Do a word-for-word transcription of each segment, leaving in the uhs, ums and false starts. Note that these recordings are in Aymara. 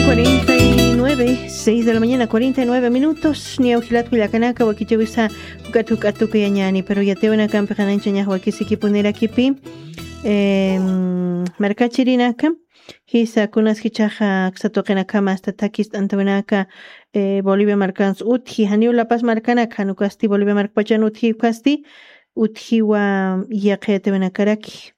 Cuarenta y nueve, seis de la mañana, cuarenta y nueve minutos. Niya ujilat kullakanaka wakichawisa ukatu ukatu kuyañani, pero yatiwinakampix ananchañax wakisikipunirakipi. Em, markachirinaka, jisa kunas jichaxa ksatuqinakama asta takist'antawinaka, eh, Bolivia markans utji, janiw La Paz markanaka, janukasti Bolivia markpachan utji ukasti, utjiwa yaqiyatawinakaraki.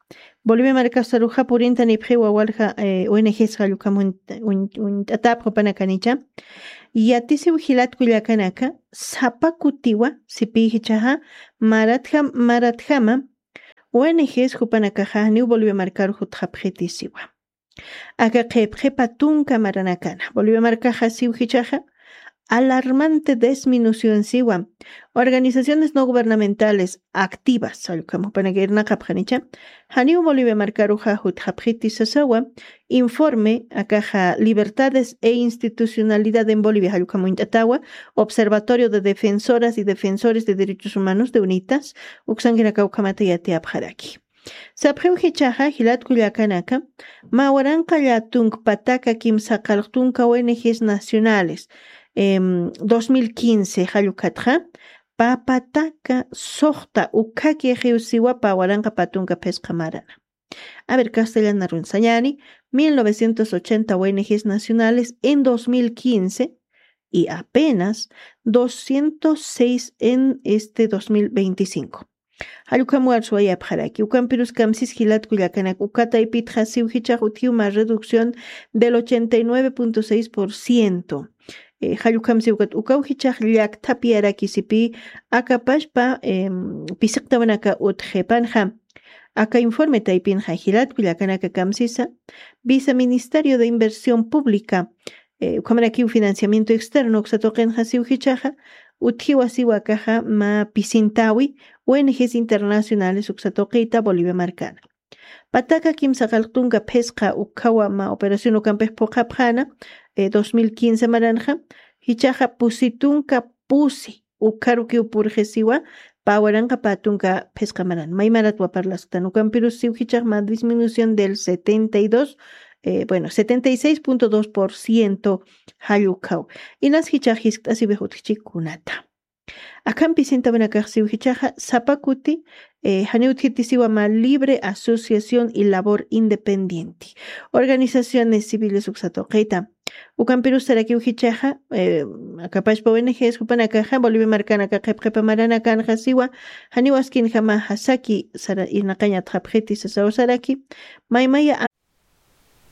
Bolivia markasaruxa purinta nipxiwa walja, eh, O N Gs jallukam uñ-, uñ-, uñt'atapxupanakanicha. Yatisiw jilat kullakanaka, sapa kutiwa, sipijichaxa, maratjam, maratjama, O N Gs jupanakaxa, niw Bolivia markaru jutxapxitisiwa. Aka qhipqhipa tunka maranakana. Bolivia markaxa siw jichaxa, alarmante disminución siwa. Organizaciones no gubernamentales activas, jallukam jupanaka irnaqapxanicha. Janiw Bolivia markaruxa jutxapxiti sasawa, informe, akaxa Libertades e Institucionalidad en Bolivia, jallukam uñt'atawa, Observatorio de Defensoras y Defensores de Derechos Humanos de unitas, uksankinaka ukhamata yatiyapxaraki. Sapxiw jichaxa, jilat kullakanaka, mä waranqa llätunk pataka kimsa qallq tunka O N Gs nacionales, em, dos mil quince jallukatxa, pä pataka suxta ukhaki jiwsiwa pä waranqa pä tunka phisqa marana. A ver, castellanarun sañani, mil novecientos ochenta O N Gs nacionales en dos mil quince y apenas doscientos seis en este dos mil veinticinco. Jallukam warsuwayapxaraki, ukampirus kamsis jilat kullakanak, uka taypitxa siw jichax utjiw mä reducción del ochenta y nueve punto seis por ciento. Eh, jallukam siw ukat, ukaw jichax llakthapiyaraki sipi, akapashpa, em, pisiqtawinaka utjipanxa. Aka informe taypinxa jilat kullakanaka kamsisa, Viceministerio de Inversión Pública, eh, ukhamarakiw financiamiento externo uksa tuqinxa siw jichaxa, utjiwa siwa akaxa mä pisintawi, O N Gs internacionales uksa tuqita Bolivia markana. Pataka kimsa qallq tunka phisqa ukhawa mä operación ukampix phuqhapxana, eh, dos mil quince maranxa, jichaxa pusi tunka pusi ukharukiw purxisiwa, pä waranqa pä tunka phisqa maran. May maratwa parlasktan ukampirus siw jichax mä disminución del setenta y dos, eh, bueno, setenta y seis punto dos por ciento jallukhaw. Inas jichax jiskt'asiwix utjchikunata. Akham pisintawinakax siw jichaxa, sapa kuti, eh, janiw utjitisiwa mä libre asociación y labor independiente. Organizaciones civiles uksa tuqita. Ukampirus sarakiw jichaxa, eh, akapashpa O N Gs jupanakaxa, Bolivia markanaka qhipqhipa maranakanxa siwa, janiw askinjama jasaki sara irnaqañatxapxiti sasaw saraki, maymaya